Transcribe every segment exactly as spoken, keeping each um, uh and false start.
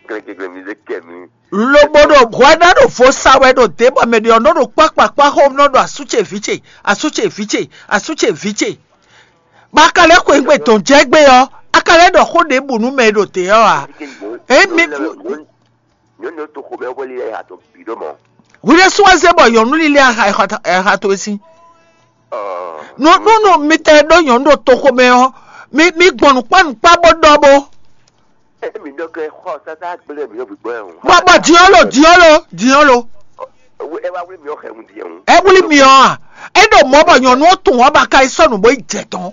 klɛnklɛn mi zé kɛ mi. Lobo ɖo hwɛ ná ɖo vo sa wɛ ɖo dě bɔ mɛ ɖě ɔ́ nɔ ɖo kpákpákpá xóm nɔ ɖo asú ce vǐ ce, asú ce vǐ ce, asú ce vǐ ce. Bɔ a ka lɛ́ xweyǐgbe dɔn jɛ gbé ɔ́, a ka lɛ́ ɖɔ xó ɖěbǔ nú mɛ e ɖo dě ɔ́ ǎ. Ě mi Nyɔ̌nu to xomɛ wɛ lé ha tɔn bǐ ɖó mɔ. Hwi ɖésú wá zé bɔ nyɔ̌nu lílé aha towe sín. Nú nú mitɛ ɖó nyɔ̌nu ɖo toxomɛ ɔ́, mi mi gbɔn nǔkpá nǔkpá bó ɖɔ bó. Emi ɖɔ kɛ xɔ sasa gblẽ mi ɖo gbígbɔ ɛ hùn. Bɔ bɔ diɔlo diɔlo diɔlo. Ɛ wá wí mi ɔ xɛ hùn diɛ hùn. Ɛ wuli mi ɔ a? E ɖo mɔ bɔ nyɔnu ɔ tun ɔ ba ka yi sɔnu bó yi jɛ tɔn.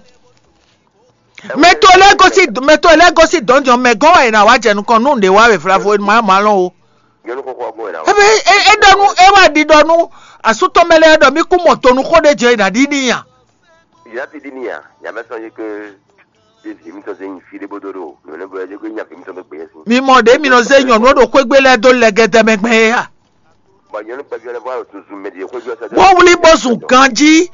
Mɛ to lɛ gosi mɛ to lɛ gosi dɔn jɔ mɛ gɔn wa yi na wa jɛ nukɔn nu ɖe wa wɛ flavo ma ma lɔn o. Nyɔnu xɔxɔ gbɔn yɛ na. Ebe e e ɖɔ nu e wa ɖi ɖɔ nu asutɔ mɛ lɛ ɖɔ mi kú mɔ to nu xó ɖe jɛ yi na ɖi ni ya. Yàtí di ni ya yàmẹ sọ yé ke. Evi mi tɔ se yin fi ɖe bó dó ɖo nɔnɛ bó yɛ ko nya fi mi tɔ ɖo gbé si. Mi mɔ ɖe mi nɔ se nyɔnu ɖo xwégbe lɛ dó lɛ gɛdɛ mɛ gbɛ ya. Bɔ nyɔnu kpɛvi lɛ bɔ ayo tuntun mɛ di xwégbe sɛ. Bó wuli bó zun ganji.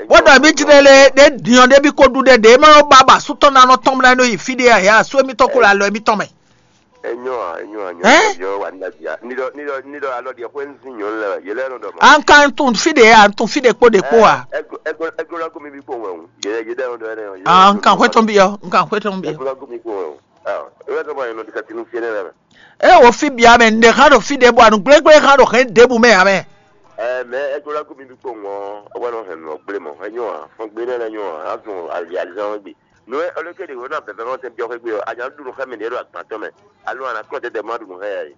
Bó ɖɔ mi jlɛ lɛ ɖe diɔ ɖe bi ko ɖu ɖe ɖe ma nɔ ba ba sutɔ na nɔ tɔn mla nɔ yi fi ɖe ya ya so mi tɔ ko la lɔ mi tɔn mɛ. Enyɔ a enyɔ a nyɔ. Yɔ wa nda bia ni dɔ ni dɔ ni dɔ alɔ diɛ xwe nsi nyɔ lɛ yɛ lɛ nɔ dɔ ma. An kan tun fi ɖe ya tun fi ɖe kpo ɖe kpo wa. Ego ego ego la gomi bi kpo wɛ o. Yɛ yɛ dɛ nɔ dɔ yɛ. An kan xwe tɔn bi yɔ n kan xwe tɔn bi yɔ. Ego la gomi kpo wɛ o. Ah, ewé tó bá yẹn nɔ dikati nu fiɛ nɛ. E wo fi bia mɛ nɖe hã ɖo fi ɖe bɔ anu gblégblé hã ɖo hɛn ɖěbù mɛ ya mɛ. Ɛ mɛ ego la gomi bi kpo ŋɔ ɔwɛ nɔ hɛn nɔ gblé mɔ enyɔ a fɔn gblé nɛ enyɔ a azɔn ali alizan gbe. Nú ɔlɔkɛ ɖe wònɔ abɛbɛ ma tɛ biɔ xwé gbe ɔ anya ɖu nú xá mɛ ɖě ɖo agban tɔn mɛ alo ana kɔ tɛtɛ ma ɖu nú xá ya yi.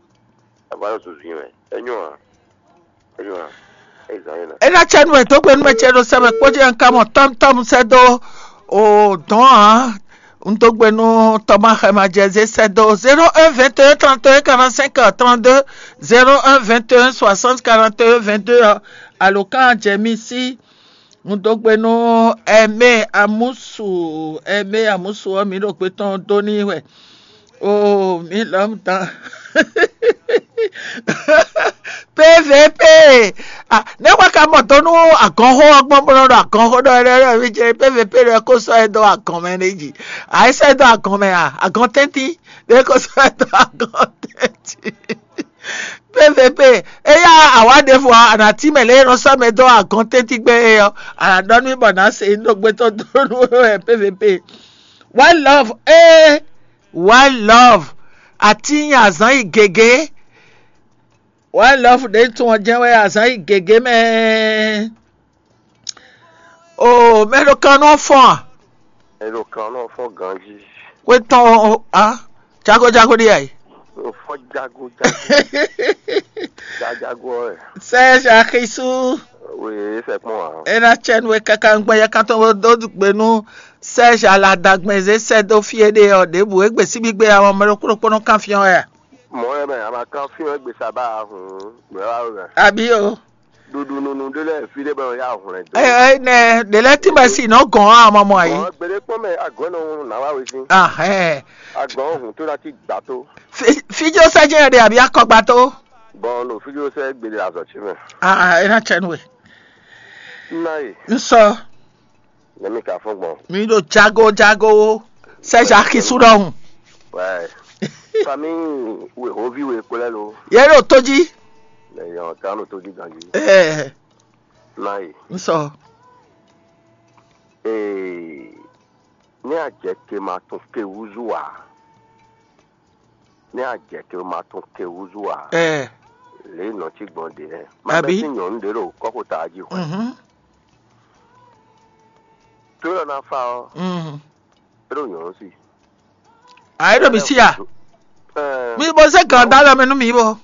Ava yɔ zuzu yi mɛ enyɔ a enyɔ a ezan yi na. Ena tsɛ nu e dó gbe nú mɛ ce ɖo sɛmɛ kpó jí ɛn kamɔ tɔm tɔm sɛ dó o dɔn a un dó gbe nú tɔma xɛ ma jɛ zé sɛ dó zéro un vingt et un trente et un quarante-cinq trente-deux, zéro un vingt et un soixante quarante et un vingt-deux alo kan jɛ mi sí. Un dó gbe nú Ɛmɛ Amusu, Ɛmɛ Amusu ɔ́, mǐ ɖo gbe tɔn dó n'i wɛ. Oo, mǐ lɔ́ dan. P V P. Ah, ne wá ka mɔ dó nú agɔnxó ɔ́ gbɔn bó nɔ ɖo agɔnxó ɖɔ ɛɖɛ ɖɔ mí jɛ P V P ɖɔ kó sɔ́ ɛ dó agɔn mɛ ɖé jí. A é sɔ́ ɛ dó agɔn mɛ a? Agɔn tɛ́ntín ɖé kó sɔ́ ɛ dó agɔn tɛ́ntín. P V P, eya awa ɖěvo ɔ́, a nǎ cí mɛ lě e nɔ sɔ́ mɛ dó agɔn tɛ́ntín gbɛ́ é ɔ́, a nǎ ɖɔ nú mì bɔ nǎ se nyi ɖo gbɛtɔ́ dó nú we wɛ P V P. One love, ee, one love. Atín azǎn yi gěgé. One love ɖě tun ɔ́ jɛ́n wɛ azǎn yi gěgé mɛ. Oo, mɛ ɖo kan nɔ fɔ́n a? Mɛ ɖo kan nɔ fɔ́n ganjí. Xwé tɔn ɔ́, a? Jago jago ɖi ayi. Fɔ́n jago jago. Jajago ɔ́. Serge Axisu. Oui, c'est moi. E na tsɛ nu e kaka ŋgbɛ yɛ kan tɔn dó gbe nú Serge Aladagbɛn zé sɛ dó fí e ɖe ɔ́ ɖěbǔ e gbe síbí gbe ɔ́ mɛ ɖokpó ɖokpó nɔ kan fyɔ́n wɛ a? Mɔ̌ wɛ mɛ a ma kan fyɔ́n égbé sa ba a hǔn, gbɛ̌ wá wɛ mɛ. Abí o. Ɖuɖu nunu ɖé lɛ́ɛ fí ɖé bɔ yá hwlɛn dó. Ɛ ɛ nɛ ɖe lɛ́ɛ tí ma si nɔ gɔn a ma mɔ ayi. Mɔ̌ gbeɖé kpɔ́n mɛ agɔ̌ nɔ hun nǎ wá wé sín. Ahɛn. Agɔ̌ hun tó ná ti gbà tó. Fíjó sɛ jẹ́ ɛɖɛ àbí akɔgba tó. Bɔn ɖo fíjó sɛ gbede azɔ tsi mɛ. Ah, ena tsɛ nu we. Nna yi. Nsɔ. Nɛmi ka fɔn gbɔn. Mi ɖo jago jago. Sɛ Jacques su ɖɔhun. Ouais. Famille we hovi we kplɛ lo. Ye ɖo to jí. Nɛ yɔ kan ɖo to jí ganji. Ɛɛ. Nna yi. Nsɔ. Ee. Ní àjẹkè máa tún ké wúzú wá. Ní àjẹkè máa tún ké wúzú wá. Ɛɛ. Lě nɔ tí gbɔn ɖě. Má Àbí? Bɛ sí nyɔ̌nu ɖě ɖo kɔ́xota jí hwɛ. Mhm. Tó lɔ ná fa ɔ́. Mhm. É ɖo nyɔ̌nu sí. Ayi ɖo mi sí a? Ɛɛ. Mi bɔ sɛ gàn dá lɔ mi nú mi bɔ.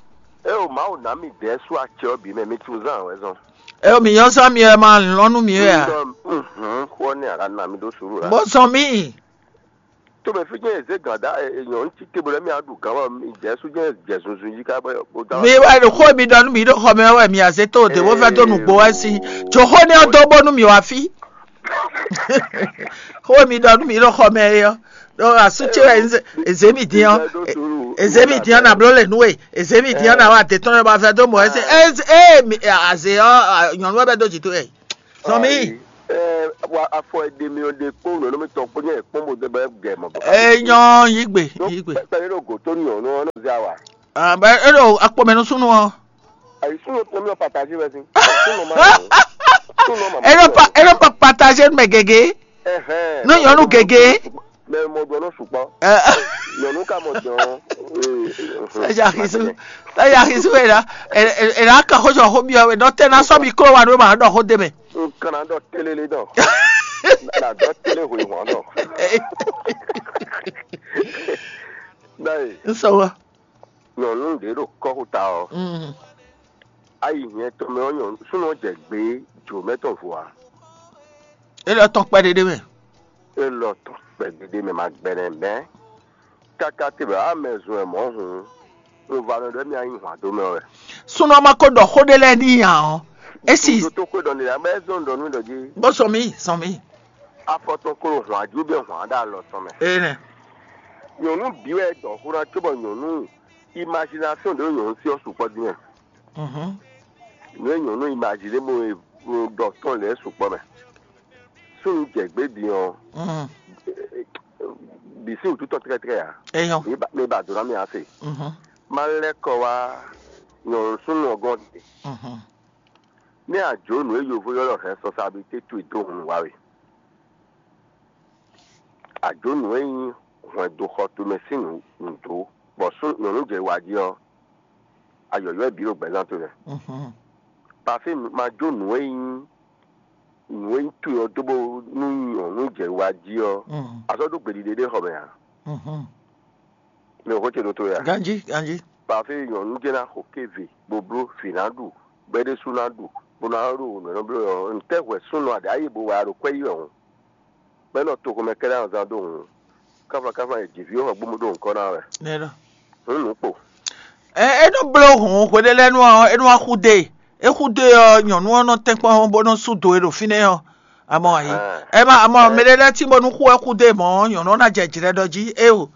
É o Mawu ná mi dɛ̌ sú acɛ ɔ́ bǐ mɛ mi tún zán wɛ zɔn. Ɛ mi yɔ sɔ mi ɛ ma lɔn nú mi wɛ a? Xɔ ní ara na mi ɖó sùúrù rà. Bó sɔn mi. Tó mɛ fí jẹ́ èzé gàn dá èèyàn ń tí tébù lẹ́mí àdùn gàn wá mi jẹ́ sú jẹ́ jẹ́ zunzun yí ká bọ́ bó dá. Mi wá ní xó mi ɖɔ nú mi ɖo xɔ mɛ wɛ mi àzé tó de bó fẹ́ tó nùgbó wá sí. Tso xó ní ɔdó bónú mi wá fí. Xó mi ɖɔ nú mi ɖo xɔ mɛ yɔ. Ɖo asú tse wɛ èzé mi dín ɔ. Èzé mi dín ɔ nà bló lè nú we. Èzé mi dín ɔ nà wá dé tɔn bá fẹ́ tó mọ̀ ẹ́ sẹ́. Ɛ ɛ mi àzé ɔ nyɔ̀nú wɛ bɛ dó jì tó yẹ. Sɔmi. Wa afɔ e ɖe mi ɔ́ ɖe kpó nǔ e nɔ mi tɔn kpó nyɛ kpɔ́n bó dé bɔ gɛ mɔ bɔ. Eye nyɔ yigbe yigbe. Kpɛɖé ɖo gǒ tó nyɔ nɔ nɔ zé awa. Abe e ɖo akpɔmɛ nú súnnu ɔ. Ayi súnnu tɔn mi ɔ patazi wɛ si. Súnnu ma. Súnnu ma. E ɖo pa e ɖo pa patazi mɛ gègé. Ɛhɛn. Nú nyɔnu gègé. Mɛ mɔ ɖɔ nɔ sukpɔ. Nyɔnu ka mɔ dɔn. Sɛja hisu sɛja hisu e ɖa e ɖa ka xɔjɔ xɔ mi ɔ e ɖɔ tɛ na sɔ mi klo wa ɖo ma ɖɔ xɔ de mɛ. N kana ɖɔ télélé dɔn. Na ɖɔ télé hwe hɔn dɔn. Dayi. N sɔ wa. Nyɔnu ɖě ɖo kɔ́xuta ɔ́, ayi nyɛ tɔn mɛ ɔ́ nyɔnu súnnu ɔ́ jɛ gbě jǒ mɛ tɔn vo ǎ. E lɔ tɔn kpɛɖé ɖé mɛ. E lɔ tɔn kpɛɖé ɖé mɛ ma gbɛnɛ mɛ. Káká te bɔ amɛ zun ɛ mɔ̌ hǔn, un va nɔ ɖɔ mi anyi hwan dó mɛ wɛ. Súnnu ɔ́ ma ko ɖɔ xó ɖé lɛ́ɛ n'i ǎ ɔ́, é si. Ɖo tó xwé ɖɔ n'i ǎ, bɔ é zɔn ɖɔ nú ɖɔ jí. Bó sɔn mì sɔn mì. Afɔ tɔn klo hwan jú bɛ hwan ɖo alɔ tɔn mɛ. Ee nɛ. Nyɔnu bǐ wɛ dɔ xó ná cóbɔ nyɔnu imagination ɖe nyɔnu sí ɔ́ sukpɔ́ dín mɛ. Mhm. Nǔ e nyɔnu imagine bó ɖɔ tɔn lɛ́ɛ sukpɔ́ mɛ. Súnnu jɛ gbě din ɔ́, Mhm. Bǐ sín wǔtu tɔn tlɛ́tlɛ́ ǎ. Eyɔn. Mi ba mi ba dǒ ná mi ase. Mhm. Má lɛ́ kɔ wá nyɔnu súnnu ɔ́ gɔ́n ɖe. Mhm. Ní a jǒ nǔ e yovo ylɔ́ ɖɔ responsabilité towe dó hun wá we. A jǒ nǔ e nyí hwɛndo xɔ towe mɛ sín nǔ nǔ dó, bɔ sú nyɔ̌nu jɛ wa jí ɔ́, a yɔ̌yɔ́ ɛ bǐ ɖo gbɛzán towe mɛ. Mhm. Pafín ma jó nǔ e nyí nǔ e nyí towe ɔ́ dó bó nú nyɔ̌nu jɛ wa jí ɔ́, Mhm. a sɔ́ ɖó gbeɖiɖe ɖé xɔ mɛ ǎ. Mhm. Mi ò xó ce ɖó towe ǎ. Ganjí, ganjí. Pafín nyɔ̌nu jɛ́n ná xo kéve bó bló vǐ ná ɖu, bɔ é ɖésú ná ɖu, bó ná ɖo nǔ e nɔ bló ɔ́, ntɛ́ hwɛ súnnu aɖě ayé bó wɛ a ɖo kwɛ́ yí wɛ hǔn? Bɔ é nɔ toxo mɛ kɛ́ɖɛ́ azán dó hǔn, káfla káfla e jǐví xɔ gbómú ɖó nǔkɔ ná wɛ. Nɛ́ ɖɔ. Hǔn nǔ kpo. Ɛ é nɔ bló hǔn hweɖé lɛ́ɛ nu ɔ́, é nɔ wá xú dó e. É xú dó e ɔ́, nyɔ̌nu ɔ́ nɔ tɛ́nkpɔ́n bó nɔ sú do e ɖo fínɛ́ ɔ́. Amɔ ayi. Ɛ má amɔ mɛ ɖé lɛ́ɛ tín bónú xú wɛ xú dó e mɔ̌ ɔ́, nyɔ̌nu ɔ́ ná jɛ jlɛ́ ɖɔ jí éeǒ.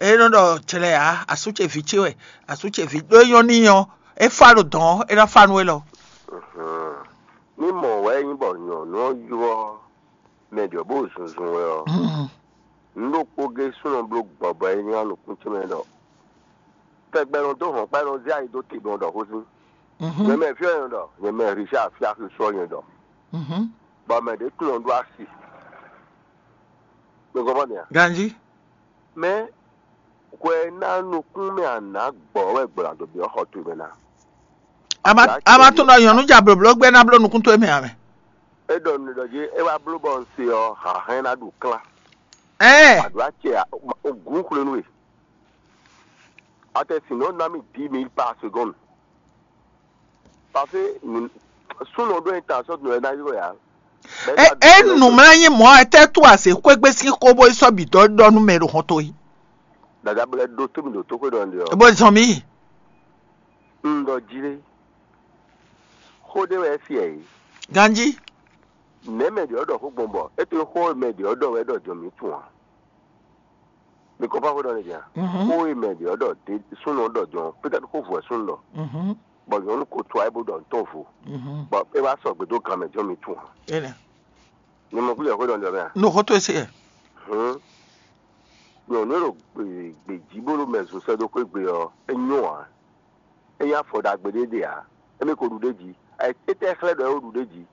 É nɔ ɖɔ jlɛ ǎ, asú ce vǐ ce wɛ, asú ce vǐ ɖó é nyɔ́ n'i ɔ́, é fá ɖo dɔ̌n ɔ́, é ná fá nú élɔ́. Ní mɔ̌ wɛ é nyí bɔ nyɔ̌nu ɔ́ ylɔ́ mɛ ɖě bó zunzun wɛ ɔ́, nǔ ɖokpó gé súnnu bló gbɔbɔ e nyí nukún ce mɛ ɖɔ tɛgbɛ nɔ dó hɔn kpá nɔ zé ayi dó te gbɔn ɖɔ xó sín. Nyɛ mɛ fí ɔ́ nyɛ ɖɔ, nyɛ mɛ Richard fí axi sɔ nyɛ ɖɔ. Bɔ mɛ ɖě tunɔ ɖó asi. Mi gɔ́ mɔ nɛ́ a? Ganjí. Mɛ hwɛ ná nukún mɛ a nǎ gbɔ wɛ gbla dó byɔ́ xɔ towe mɛ ná. A ma a ma tunɔ nyɔ̌nu ja blǒbló gbɛ́ ná bló nukún towe mɛ ǎ mɛ. É ɖɔ nǔ ɖɔ jí é wá bló bɔ un se ɔ́, hǎnhɛ́n ná ɖu klán. Ɛɛ. Aɖǒ acɛ gǔn xwlénu e. Atɛ sin nɔ ná mì dix mille par seconde. Parce que súnɔ ɖó intention ɖo ɛ ná ylɔ́ ya. É é nǔmlányi mɔ̌ etɛ́ tú azě xwégbé sín xó bó yi sɔ́ bǐ dɔ́ ɖɔ nú mɛ ɖo hɔn towe. Dada blɛ ɖó tó mi ɖo tó xwé ɖɔ nɖe ɔ. Bó zɔn mì. Un ɖɔ jí lé. Xó ɖé wɛ é fiɛ yìí. Ganjí. Nɛ̌ mɛ ɖě ɔ́ ɖɔ xó gbɔn bɔ é to xó mɛ ɖě ɔ́ ɖɔ wɛ ɖɔ jɔ mǐ tun ǎ. Mi kɔn fá xó ɖɔ n'i ǎ. Xó e mɛ ɖě ɔ́ ɖɔ ɖě súnnu ɔ́ ɖɔ jɔn, pétɛ́tí xó vɔ̌ súnnu ɖɔ, bɔ nyɔ̌nu ko to ayé bó ɖɔ nǔ tɔn vo, bɔ é wá sɔgbe dó gan mɛ jɔn mi tún ǎ. Énɛ́. Mi mɔ kújɛ xó ɖɔ n'i ɔ́ mɛ a? No xó tó e se ɛ. Hǔn, nyɔ̌nu e ɖo gbějí bó ɖo mɛ zun sɛ́ dó xwé gbe ɔ́, é nyɔ́ ǎ. É nyí afɔ ɖagbe ɖé ɖe ǎ. Émí ko ɖu ɖ'é jí. Étɛ́ xlɛ́ ɖɔ é ko ɖu ɖ'é jí?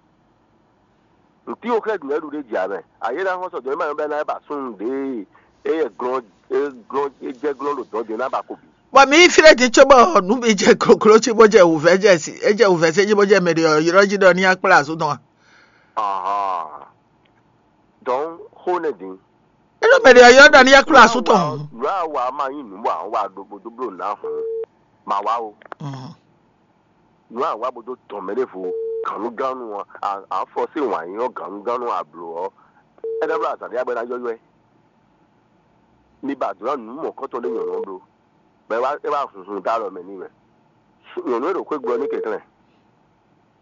Nǔtí wo xlɛ́ ɖu é ɖu ɖ'é jí ǎ mɛ. Ayé ná xɔ́n sɔjɔ́ é ma nyɔ́ bɔ é ná ba súnnu ɖě e é glɔ́n é glɔ́n é jɛ glɔ́n ɖo dɔ̌n din é ná ba ko bǐ. Bɔ mǐ yi fí ɖé din cóbɔ nǔ bǐ jɛ gloglo cí bó jɛ wǔvɛ́ jɛ sí é jɛ wǔvɛ́ sí jí bó jɛ mɛ ɖě ɔ́ ylɔ́ jí ɖɔ ní akplá asú tɔn a? Ahɔn. Dɔ̌n xó nɛ́ din. É ɖo mɛ ɖě ɔ́ ylɔ́ ɖɔ ní akplá asú tɔn. Nǔ a wa ma nyí nǔ bɔ a wa ɖo bó dó bló nǔ a hɔn. Ma wa o. Nǔ a wa bó dó tɔn mɛ ɖěvo gǎnnugánnu ɔ́, a fɔ sín wǎn yí ɔ́ gǎnnugánnu ablo ɔ́, é ná bló azǎn ɖé abɔ é ná yɔ́yɔ́ ɛ. Mi ba dǒ ná nǔ mɔ̌kɔ́tɔn ɖé nyɔ̌nu ɔ́ bló, bɔ é wá é wá hunhun dó alɔ mɛ n'i wɛ. Nyɔ̌nu e ɖo xwé gblɔ ní kɛnklɛ́n,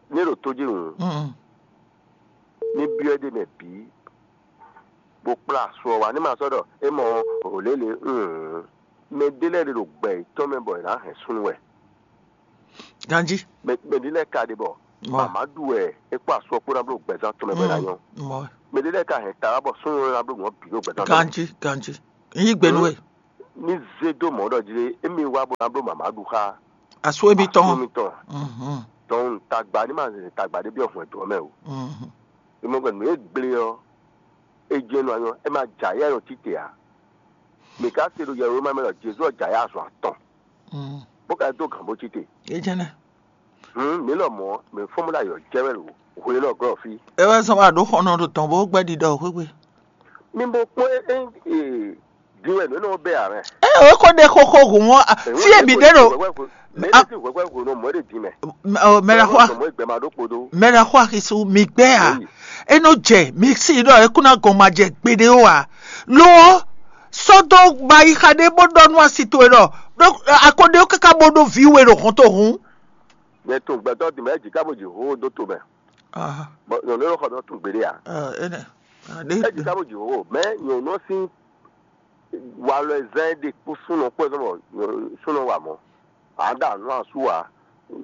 ní é ɖo tó jí hǔn, ní byɔ́ é ɖ'é mɛ bǐ, bó kplá asu ɔ́ wá, ní ma sɔ́ ɖɔ é mɔ hǒlélě hǔn. Mɛ ɖé lɛ́ɛ ɖe ɖo gbɛ yětɔn mɛ bɔ è nǎ hɛn súnnu wɛ. Ganjí. Mɛ mɛ ɖé lɛ́ɛ ka ɖe bɔ Mɔ. Mama ɖu wɛ é kpó asu ɔ́ kpó ná bló gbɛzán tɔn mɛ bɔ é ná nyɔ́. Mɔ. Mɛ ɖé lɛ́ɛ ka hɛn ta wá bɔ súnnu ɔ́ ná bló nǔ ɔ́ bǐ ɖo gbɛtɔ́ tɔn. Ganjí, ganjí. N yí gbe nú we. Ní zé dó mɔ̌ ɖɔ jí émí wá bó ná bló mǎmá ɖu xá. Asú émítɔn. Asú émítɔn. Mhm. Dɔn tagba ní ma zɛ tagba ɖé byɔ́ hwɛ̌n dó ɔ́ mɛ o. Mhm. Émɔgbɛ́ nǔ e gblé ɔ́, é jɛ́n nɔ anyɔ, é ma jɛ ayɛ nɔ títè ǎ. Mǐ ka se ɖo Yɛwloma mɛ ɖɔ Jezu ɔ́ jɛ ayɛ azɔn atɔn. Mhm. Bó ka dó gǎn bó títè. É jɛ́n nɛ́. Hǔn mǐ lɔmɔ̌, mǐ fɔ́n bó ɖo ayɔ jɛ wɛ ɖo hwe élɔ́ glɔ́ fí. É wɛ zɔ́n wá ɖǒ xɔnɔ ɖo tɔn bó gbɛ́ ɖiɖɔ xwégbe. Mi bo kpɔ́n é é din wɛ nǔ énɛ́ ɔ́ bɛ́ ǎ mɛ. É o ko ɖe xóxó hǔn ɔ́, fí e mǐ ɖe ɖo. Mɛ é ti hwɛ̌hwɛ́ hwenu mɔ̌ ɖe din mɛ. Mɛ ɖaxó Mɔ̌ gbɛ ma ɖó kpodo. Mɛ ɖaxó axisu mi gbɛ́ a? Eyi. É nɔ jɛ mi sí ɖɔ é kún ná gɔn ma jɛ gbeɖé ó a? Lo ɔ́, sɔ́ dó ba yi xa ɖé bó ɖɔ nú asi towe ɖɔ ɖó akɔɖé ó káká bó ɖó vǐ we ɖo hɔn to hǔn. Mɛ tun gbɛtɔ́ din mɛ é jǐ ká bó jǐ hó dó to mɛ. Bɔ nyɔ̌nu élɔ́ xɔ ɖɔ tun gbeɖé a? Énɛ́. É jǐ ká bó jǐ hó mɛ nyɔ̌nu ɔ́ sín walɔ e zán é ɖe kpó súnɔ kpó ɛ zɔ́n bɔ súnɔ wa mɔ̌. Ǎ ɖa nǔ asú ǎ.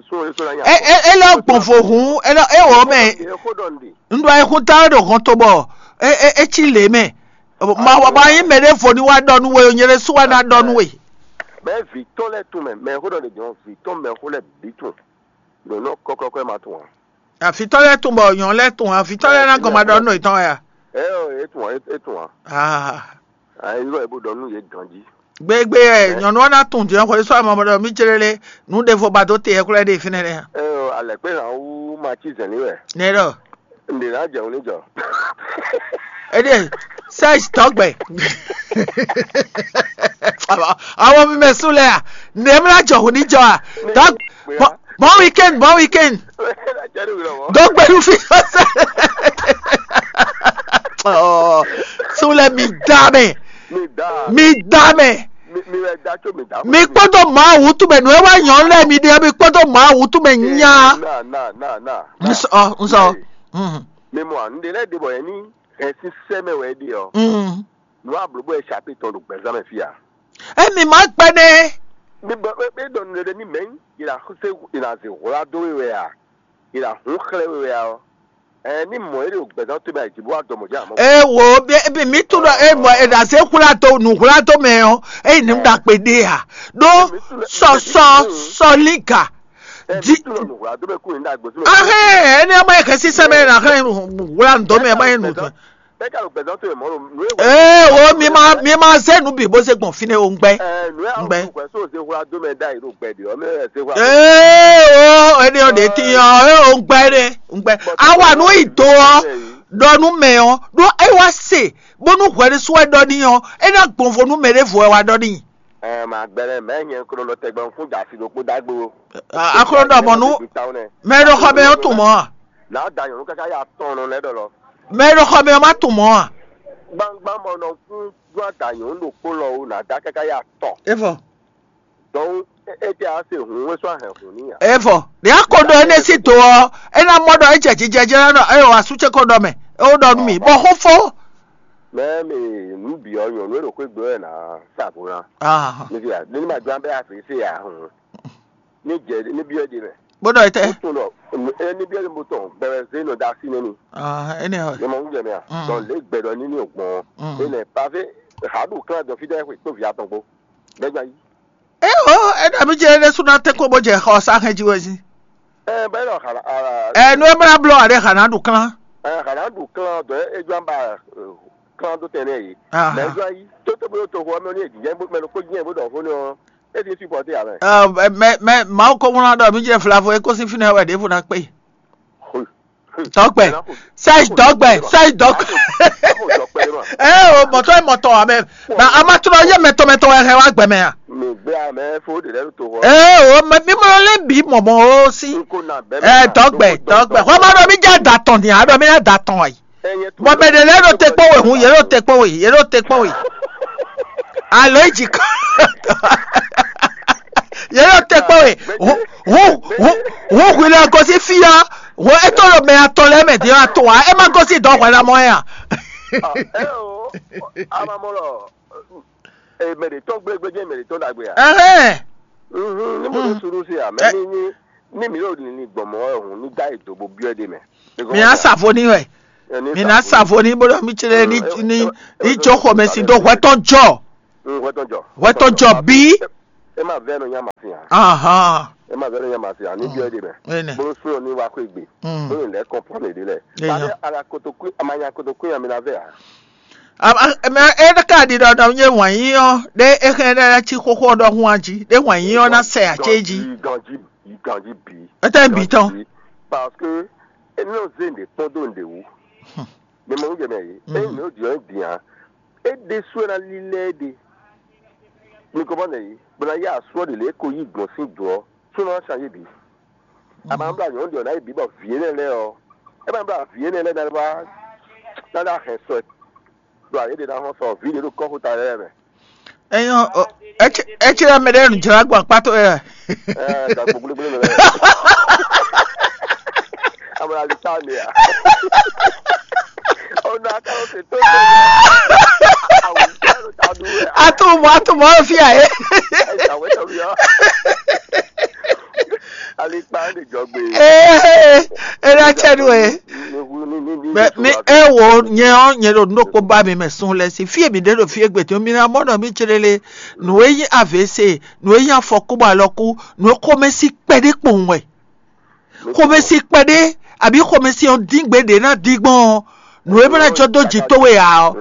Súnɔ é sɔ́ ná nya. É é é lɔ gbɔn vo hǔn é lɔ é wɔ mɛ. Xó ɖɔ nɖe. Un ɖo ayixún ta wɛ ɖo hɔn to bɔ é é é cí lě mɛ. Ma wa ba nyí mɛ ɖé vo ní wá ɖɔ nú we nyɛ ɖé sú wá ná ɖɔ nú we. Mɛ vǐ tɔn lɛ́ tún mɛ mɛ xó ɖɔ nɖe jɔn vǐ tɔn mɛ xó lɛ́ bǐ tún. Ɖo nɔ kɔkɔkɔ ɛ ma tún ǎ. Afitɔ lɛ́ɛ tún bɔ nyɔ̌nu lɛ́ɛ tún afitɔ lɛ́ɛ ná gɔn ma ɖɔ nú yětɔn wɛ a? Ɛ ɔ, é tún ǎ, é tún ǎ. Ah. Ɛ yɔ ɛ bó ɖɔ nú yě ganjí. Gbégbé ɛ nyɔ̌nu ɔ́ ná tún jɛ xɔ sɔ́ amɔ ɖɔ mí célé lé nǔ ɖěvo ba dó te ɛ kúlɛ ɖe fínɛ́ lé a? Ɛ ɔ, alɛ̌kpé hǎn wú ma cí zɛ̌n ní wɛ. Nɛ ɖɔ. Ǹdè ná jɛ òun ní jɔ. Éɖée, Serge tɔgbɛ. Àwọn mi mɛ sún lɛ à? Nèémla jɔ hùn ní jɔ à? Tɔg bon bon weekend, bon weekend. Dɔgbɛ nu fi. Sún lɛ mi dá mɛ. Mi dá. Mi dá mɛ. Mi wɛ dá tso mi dá. Mi kpɔdɔ mɔ awutu mɛ nù ewé nyɔ lɛ mi ɖe mi kpɔdɔ mɔ awutu mɛ nya. Na na na na. Nsɔ nsɔ. Mi mɔ anu de lɛ de bɔ yɛ ni hɛn sísɛ mɛ wɛ de ɔ. Nu ablobo yɛ chapitre tɔn ɖo gbɛzán mɛ fia. Emi ma gbɛ nɛ. Mi bɔ e dɔn nu ɖe ni mɛ yi la se yi la ze hwla do we wɛ a yi la hun xlɛ we wɛ a ɔ. Ɛ ní mɔ e ɖo gbɛzán to mɛ a yi jibu wa dɔmɔ jɛ amɔ. E wo bi bi mi tu ɖɔ e mɔ e ɖa se hwla do nu hwla do mɛ ɔ eyi ni ɖa kpe ɖe a ɖo sɔsɔ sɔliga. Ɛ mi tu ɖɔ nu hwla do mɛ kun yi ɖa gbɔsɔ. Ahɛn ɛni ɔmɔ yɛ kɛ sísɛ mɛ na hɛn hwla ŋdɔ mɛ ɛmɔ yɛ nu. Ee wo mi ma mi ma zé nu bǐ bó zé gbɔn fínɛ́ o ŋgbɛ. Ŋgbɛ. Ee o ɛni ɔ ɖe ti ɔ ee o ŋgbɛ ɖe ŋgbɛ awa nu yi do ɔ ɖɔ nu mɛ ɔ ɖo e wa se bónú hwɛ ɖé sú wɛ ɖɔ n'i ɔ e ná gbɔn vo nú mɛ ɖěvo wɛ wa ɖɔ n'i. Ɛ ma gbɛlɛ mɛ nyɛ klo nɔ tɛgbɛ ŋkún da si ɖokpó dagbo. Aklo ɖɔ mɔ nu mɛ ɖo xɔ mɛ ɔ tun mɔ a? N'a da nyɔnu kaka ya tɔn nɔ lɛ ɖɔ lɔ. Mɛ ɖo xɔ mɛ ɔ ma tun mɔ a? Gbangban mɔ nɔ kún gbɔn da nyɔnu ɖokpó lɔ o n'a da kaka ya tɔn. Evɔ. Donc e tɛ a se hun wɛ sɔ ahɛn hun ni ya. Evɔ ɖe a ko ɖɔ ene si do ɔ ena mɔ ɖɔ ejɛ jijɛ jɛ na ɖɔ eyɔ wa su tse ko ɖɔ mɛ ewo ɖɔ nu mi bɔ xo fo. Mɛ mi nu bi ɔ nyɔnu e ɖo xwé gbe wɛ na sa vo na. Ah. Mi fi ya ne ma jɔ an bɛ a fi se ya hun. Ní jɛ ní byɔ́ ɖi mɛ. Bó ɖɔ etɛ. Ó tún ɖɔ eni byɔ́ ɖi mo tɔn gbɛmɛ zé nɔ da sí nɛni. Ah, ene hɔ. Ní ma ń jẹ mɛ a. Mm. Dɔn lě gbɛ ɖɔ ní ní ògbɔn. Mm. Ní nɛ pavé hàɖù klán dɔ fí dɛ kpó vǐ atɔn kpó. Bɛ́ gba yí. E o, e ɖɔ mi jɛ ne suna tɛ ko bó jɛ xɔ sa hɛn ji wɛ si. Ɛ bɛ́ ɖɔ xala ala. Ɛ nu e mla blɔ aɖe xana ɖu klán. Ɛ xana ɖu klán dɔ e jɔ ba klán dó tɛnɛ yi. Aha. Mɛ jɔ yi. Tó tó bó tó xɔ mɛ ní èjì jẹ́ mɛ ló kó jẹ́ bó dɔ fó ní ɔ. Edi supporter amɛ. Ɛ mɛ mɛ mawu ko ŋlɔ ɖɔ mi jɛ flavo e ko si finɛ wɛ ɖevo na kpe. Dɔgbɛ sai dɔgbɛ sai dɔgbɛ. Ee o mɔtɔ ye mɔtɔ amɛ na amatrɔ ye mɛtɔ mɛtɔ wɛ hɛn wa gbɛmɛ ya. Mi gbé amɛ fo de lɛ to hɔ. Ee o mɛ mi mɔ lɛ bi mɔmɔ o si. Ɛ dɔgbɛ dɔgbɛ xɔ ma ɖɔ mi jɛ da tɔn ni a ɖɔ mi na da tɔn ayi. Bɔn mɛ ɖe lɛ ɖo te kpɔn we hun yɛ ɖo te kpɔn we yɛ ɖo te kpɔn we. Alo yi dzi kɔ. Yɛ ɖo te kpɔn we hun hun hun hun hui lɛ gosi fi ya hun eto ɖo mɛ atɔn lɛ mɛ di atɔn wa e ma gosi dɔ hwɛ na mɔ ya. Amamɔlɔ mɛ ɖe tɔn gblegble jɛ mɛ ɖe tɔn ɖagbe ya. Ɛhɛn. Ni mo ɖo suru si ya mɛ ni ni ni mi ɖo ni gbɔmɔ hun ni da yi do bo biɔ de mɛ. Mi a sa vo ni wɛ. Mi ná sa vo ní bó ɖɔ mì céɖé ní ní ní jó xomɛ sin dó hwɛ tɔn jɔ. Hwɛ tɔn jɔ. Hwɛ tɔn jɔ bí. E ma vɛ nɔ nya ma fi hã. Ahan. E ma vɛ nɔ nya ma fi hã. Ní jɔ e ɖe mɛ. Ene. Bó sún ní wa xwé gbe. Bó ní lɛ kɔn pɔn lè ɖe lɛ. Ene. Ba ala koto kú ama nya koto kú nya mi na vɛ hã. Mɛ e ka ɖi ɖɔ ɖɔ nye wǎn yí ɔ́ ɖé é xɛn ɖé cí xóxó ɖɔhun a jí ɖé wǎn yí ɔ́ ná sɛ acé jí. Ganji ganji bǐ. Etɛ bǐ tɔn. Parce que e nɔ zé nɖe kpɔn dó nɖe wú. Mi mɔ nú jɛ mɛ yìí. Ényí mi ó jǐ ɔ́ bǐ ǎ. É ɖésú wɛ ná lílɛ́ é ɖe. Mi ko mɔ nɛ yìí, bó ná yá asú ɔ́ ɖě lě é ko yí gbɔn sín dǒ ɔ́, sú ná change bǐ. A ma blá nyɔ̌nu ɖě ɔ́ ná yi bǐ bɔ vǐ énɛ́ lɛ́ɛ ɔ́, é ma blá vǐ énɛ́ lɛ́ɛ ná wá ná ná hɛn sɔ ɛ ɖo ayě ɖě ná hɔn sɔ vǐ ɖě ɖo kɔ́xota lɛ́ɛ mɛ. Enyɔ, etsila mɛ ɖe nu jla gbɔn akpá towe wɛ. Ɛ gakpo gblégblé mɛ lɛ. Amɔ ali ta ne ya. Ona ka o se to. Awu ta do ta do. Atu mɔ atu mɔ fi a ye. Ɛ ta wɛ ta ya. Ali kpa de jɔgbe. Ee, e na cɛ nu e. Mɛ mi e wo nyɛ ɔ nyɛ ɖo nukpó ba mi mɛ sun lɛ si fie mi ɖe ɖo fie gbete mi na mɔ nɔ mi cele le nu e nyi avc nu e nyi afɔku bɔ alɔku nu e xomɛsi kpɛɖé kpowun wɛ xomɛsi kpɛɖé abi xomɛsi ɔ dín gbe ɖe na dín gbɔn ɔ nu e bɛ na jɔ dó jì towe ǎ ɔ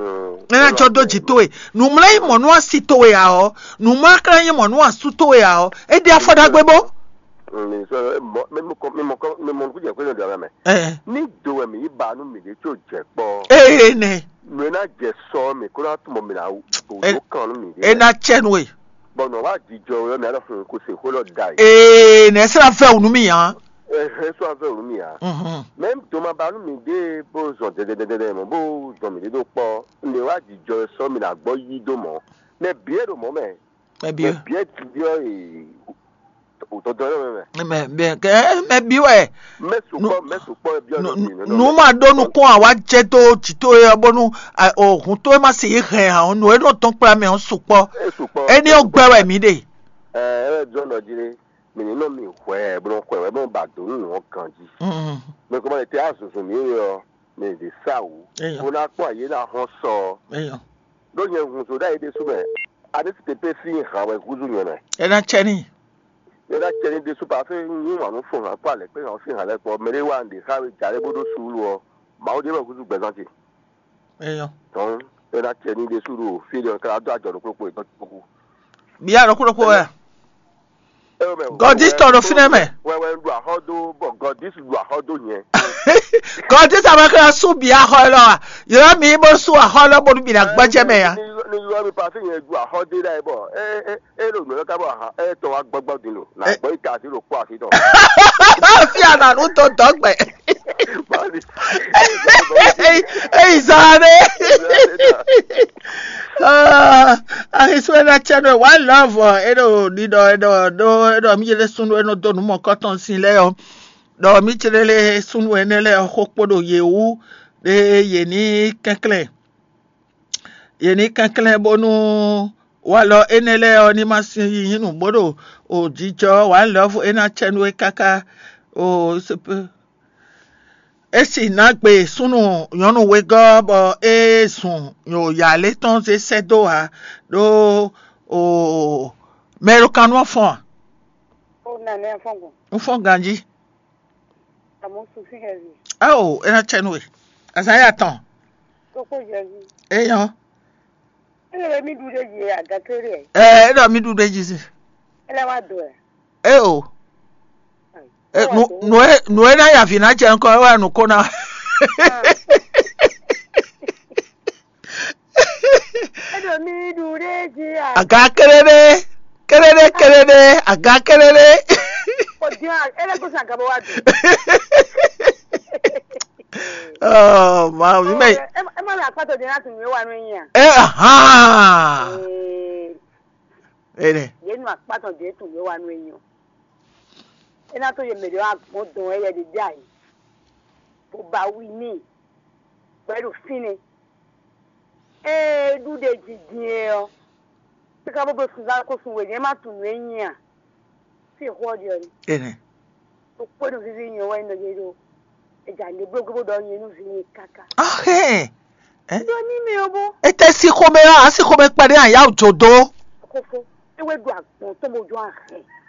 e na jɔ dó jì towe nu mlɛ yi mɔ nú asi towe ǎ ɔ nu mlɛ kla yi mɔ nú asu towe ǎ ɔ e ɖi afɔ ɖagbe bó. Mi sɔ mi mɔ mi mɔ mi mɔ mi mɔ nukú jɛ kó lè dɔn mɛ. Ɛ Ní do wɛ mǐ yi ba nú mǐɖée có jɛ kpɔ́. Ee nɛ. Nǔ e ná jɛ sɔ ɔ́, mǐ kó ná tunwun bɔ mǐ ná ɖó kan nú mǐɖée. E ná cɛ nú we. Bɔ nɔ wá jijɔ wɛ mǐ alɔ hun kó se xó lɔ da yi. Ee nɛ sira fɛ wunu mi yan. Ɛhɛn sɔ avɛ wunu mi ya. Mhm. Mɛ do ma ba nú mǐɖée bó zɔn dɛdɛdɛdɛ mɔ bó zɔn mǐɖée ɖó kpɔ́. Nǔ e wá jijɔ wɛ sɔ mǐ ná gbɔ yí dó mɔ̌. Mɛ bǐ e ɖo mɔ̌ mɛ. Mɛ bǐ. Mɛ bǐ e jijɔ e. Wò tɔn dɔn mɛ. Mɛ mɛ kɛ mɛ bí wɛ. Mɛ sukpɔ mɛ sukpɔ e biɔ nu nu nu ma ɖó nukún a wá jɛ dó jito yɛ bónú o hun tó e ma se yi hɛn a o nu e nɔ tɔn kpla mɛ o sukpɔ. E sukpɔ. Eni o gbɛ wɛ mi ɖe. Ɛ ɛ jɔ nɔ jí ɖe mi ní nɔ mi hwɛ bó nɔ hwɛ wɛ bó nɔ ba dó nù nɔ ganji. Mm. Mɛ kó ma lè tɛ azɔzɔ mi yɛ ɔ mi ɖe sa wú. Eyɔ. Bó ná kpɔ ayé ná hɔn sɔ. Eyɔ. Ɖó nyɛ hun so ɖ'ayǐ ɖésú mɛ. A ní tete pé sín hǎn wɛ húzú nyɛ mɛ. E ná cɛ ní. E ná cɛ ní ɖésú pa fé nyí wǎn nú fún hǎn kpó alɛ kpé hǎn sín hǎn lɛ́ɛ kpɔ́ mɛ ɖé wá ɖě xá we jǎ lɛ́ɛ bó ɖó suúlu ɔ, Mawu ɖé wɛ húzú gbɛzán ce. Eyɔ. Tɔn e ná cɛ ní ɖésú ɖo fí ɖé ɔ́ ká dó ajɔ ɖo kplɔ́kpó yětɔn kpókú. Bia ɖo kúɖokpó wɛ. Gɔdis tɔn ɖo fínɛ́ mɛ. Wɛ wɛ ɖu axɔ dó bɔ gɔdis ɖu axɔ dó nyɛ. Gɔdis amɛ kla sú bia axɔ lɔ a? Yɔrɔ mi bó sú axɔ lɔ bónú mi ná gbɔjɛ mɛ ya. Ni yɔ mi pasi nyɛ ɖu axɔ dé ɖa yɛ bɔ e e e ɖo nǔ lɔ ká bɔ ahan e tɔ wa gbɔgbɔ din lo na gbɔ yi ka asi ɖo kpɔ asi tɔ. Fia na nu to dɔgbɛ. Eyi zan ɖe. Ahi sue na cɛ nɔ wa love e ɖo ɖiɖɔ e ɖɔ ɖo e ɖɔ mi yele sunu e nɔ do nu mɔ kɔtɔn sin lɛ ɔ ɖɔ mi cele le sunu ene lɛ xo kpo ɖo ye wu ɖe ye ni kɛnklɛn ye ni kɛnklɛn bónú walɔ ene lɛ ɔ ni ma sin yi nyinu bó ɖo o jijɔ wa love e na cɛ nu e kaka o sepe. É si ná gbe súnnu nyɔ̌nu wegɔ́ bɔ é zun nyòyǎ lé tɔn zé sɛ́ dó ǎ, ɖó o mɛ e ɖo kan nú ɔ́ fɔ́n a? Ó nà ní afɔ́ngbɔn. Un fɔ́n ganjí. Àmọ́ sun fí hɛn mi. Ao, é ná cɛ nú we. Azǎn ya tɔn. Kókó Jɛzu. Éyɔ́. Ele be mi ɖu ɖe dzi aga kéré. Ɛ é ɖɔ mí ɖu ɖe dzi si. Ele wa do ɛ. É o. Ɛ nu nu e nu e na ya vi na jɛ ŋkɔ wɛ nu ko na. Ele mi ɖu ɖe dzi a. Aga kéré ɖe kéré ɖe kéré ɖe aga kéré ɖe. O diɔ ele ko sa gabo wa do. Oh, ma mi mɛ. Ema mi akpatɔ de na tun mi wa nu yin a. Eh, aha. Ene. Ye nu akpatɔ de tun mi wa nu yin o. Ena to ye me de wa gbɔn dɔn e ye de dai. Bo ba wi ni. Bo e do fine. Eh, du de dzi din e o. Sika bo be sun za ko sun we ne ma tun nu e yin a. Fi xɔ de o. Ene. O kpɔ́ nu vivi nyɔ wa yin de do. Eja ne blo gbogbo ɖɔ nye nu vi nye kaka. Ahɛn. Ɖo ní mi o bó. Ete si xomɛ ɔ́, asi xomɛ kpaɖé aya wò jodo. Kókó. Ewé ɖo agbɔn tó mo jọ ahɛn.